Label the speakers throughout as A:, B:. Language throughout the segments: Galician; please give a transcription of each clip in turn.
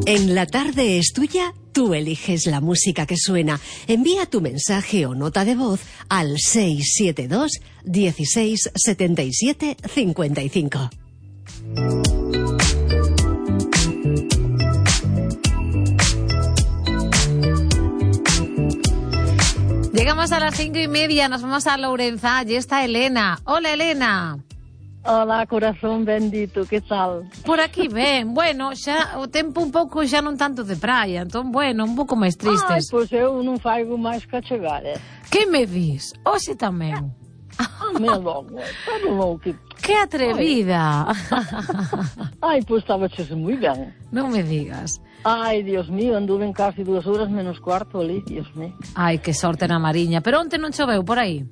A: En La Tarde es Tuya, tú eliges la música que suena. Envía tu mensaje o nota de voz al 672 16 77 55.
B: Llegamos a las 5:30, nos vamos a Lourenza, allí está Elena. Hola, Elena.
C: Hola, corazón bendito, que tal?
B: Por aquí ben, bueno, xa o tempo un pouco xa non tanto de praia, entón, bueno, un pouco máis tristes.
C: Pois eu non faigo máis que chegar,
B: Que me dis? Hoxe tamén.
C: Me logo, pero logo que...
B: Que atrevida.
C: Ai, pois estaba chese moi ben.
B: Non me digas.
C: Ai, Dios mío, anduve en casi 2 horas menos cuarto ali, Dios mío.
B: Ai, que sorte na Mariña, pero onte non choveu por aí?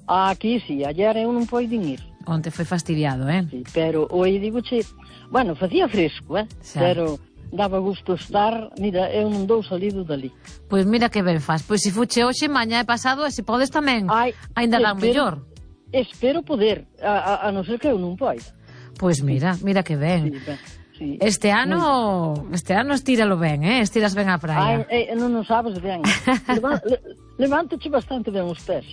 C: Aquí sí, ayer eu non poidin ir.
B: Onte foi fastidiado,
C: Sí, pero hoje digo che, bueno, facía fresco,
B: Xa.
C: pero daba gusto estar, mira, eu non dou salido dali.
B: Pois mira que ben faz, pois se fuche hoxe, mañá e pasado, e se podes tamén,
C: Ai,
B: ainda dan mellor.
C: Espero poder, a non ser que eu non poida.
B: Pois mira que ben.
C: Sí, ben, sí.
B: Este ano estíralo ben, estiras ben a praia.
C: Ai, non sabes ben. Levántache bastante ben os pés,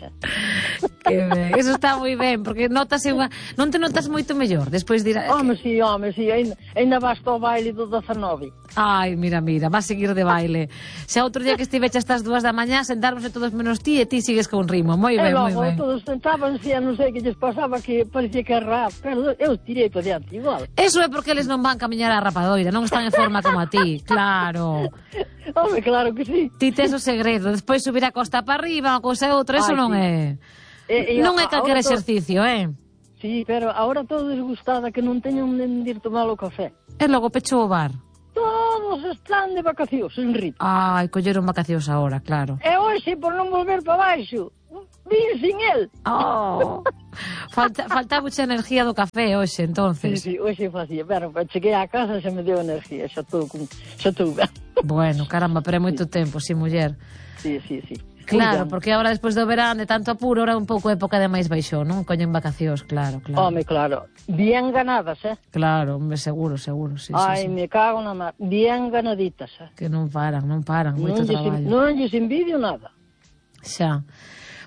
B: Que ben, eso está moi ben, porque notase non te notas moito mellor, despois dirá...
C: Home, sí, ainda vas ao baile do 19.
B: Ai, mira, vas seguir de baile. Xa outro día que estiveche estas 2 da mañá, sentarmos todos menos ti e ti sigues con ritmo, moi ben, moi ben.
C: E logo todos sentabanse e non sei que lles pasaba, que parecía que era rap, pero eu tirei para diante igual.
B: Eso é porque eles non van camiñar a rapadoira, non están en forma como a ti, claro.
C: Home, claro que sí.
B: Ti tes o segredo, despois subir a costa para arriba, unha cousa e outra, eso non
C: sí.
B: é... Non é calquer exercicio,
C: Sí, pero agora todo desgustada, que non teñen onde ir tomar o café.
B: E logo pechou o bar.
C: Todos están de vacacións, en Rito.
B: Ai, colleron vacacións agora, claro.
C: E hoxe, por non volver para baixo, vin sin el.
B: Oh, falta mucha energía do café hoxe, entonces.
C: Sí, hoxe facía, pero cheguei á casa xa me deu energía, xa estou ben.
B: Bueno, caramba, pero é moito tempo, si, muller.
C: Sí.
B: Claro, porque agora despois do verán de tanto apuro, ahora un pouco época de máis baixón, non? Coñen vacacións, claro.
C: Home, claro. Bien ganadas,
B: Claro, hombre, seguro, sí.
C: Ai, me cago na mar. Bien ganaditas,
B: Que non paran, moito traballo.
C: Non lles envidio nada.
B: Xa.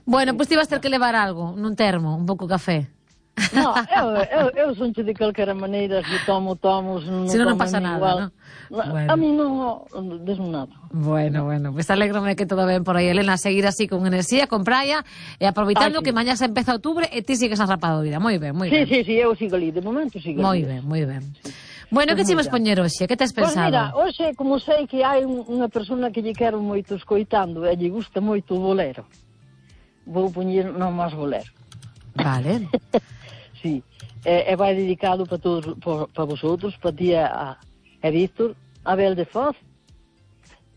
B: Bueno, pois ti vas ter que levar algo, nun termo, un pouco café.
C: No, eu son de calquera maneira, se tomo,
B: se non pasa nada, non?
C: Bueno. A mí non desmo nada.
B: Bueno, pues alégrome que todo ben por aí, Elena, seguir así con enerxía, con praia, e aproveitando que mañá se empeza outubro e ti sigues a rapadoira. Moi ben.
C: Sí, eu sigo ali, de momento sigo ali.
B: Moi ben. Bueno, que te imos poñer hoxe? Que tes pensado?
C: Pois mira, hoxe, como sei que hai unha persona que lle quero moito escoitando e lle gusta moito o bolero, vou poñer nomás bolero.
B: Vale.
C: Sí, e vai dedicado para todos, para vosotros, para ti a Víctor, a Abel de Foz,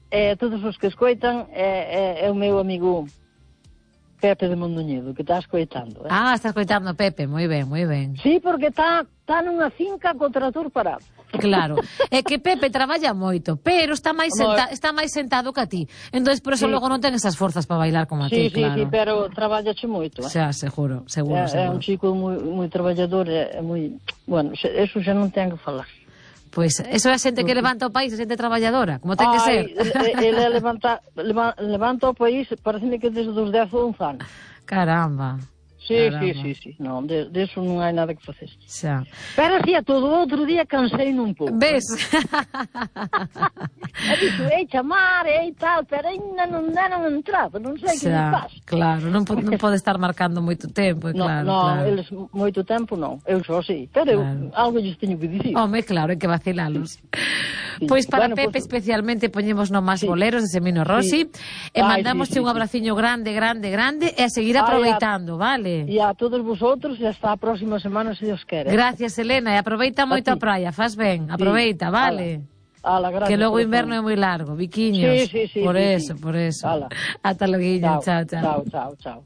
C: e todos os que escoitan, é o meu amigo Pepe de Mondoñedo, que está escoitando.
B: Ah, está escoitando Pepe, moi ben.
C: Sí, porque está nunha finca co trator parado.
B: Claro, é que Pepe traballa moito, pero está máis sentado que a ti. Entón, por eso logo non ten esas forzas para bailar como a ti, claro.
C: Sí, pero traballache moito.
B: Xa, seguro.
C: É un chico moi traballador, é moi... Bueno, eso xa non ten que falar.
B: Pois, eso é a xente que levanta o país, a xente traballadora, como ten que ser.
C: Ele levanta o país, pareceme que desde os 10 ou 11 anos.
B: Caramba.
C: Sí. Non, de eso non hai nada que facer.
B: Xa.
C: Pero hacía todo outro día cansei un pouco.
B: Ves?
C: E dixo, chamar, tal, pero ainda non deron entrada, non sei que me pasa.
B: Claro, non pode estar marcando moito tempo, claro.
C: Non, eles moito tempo non, eu só sí, pero algo lles teño que dicir.
B: Home, claro, hai que vacilalos. Pois para Pepe especialmente poñemos nomás boleros de Semino Rossi e mandamosche un abraciño grande e a seguir aproveitando, vale?
C: E a todos vosotros e hasta a próxima semana, se Dios quere.
B: Gracias, Elena, e aproveita moito a praia, faz ben, aproveita, vale?
C: Gracias,
B: que logo o inverno é moi largo, biquiños.
C: Sí.
B: Por eso. Ata loguinho, chao.
C: Chao.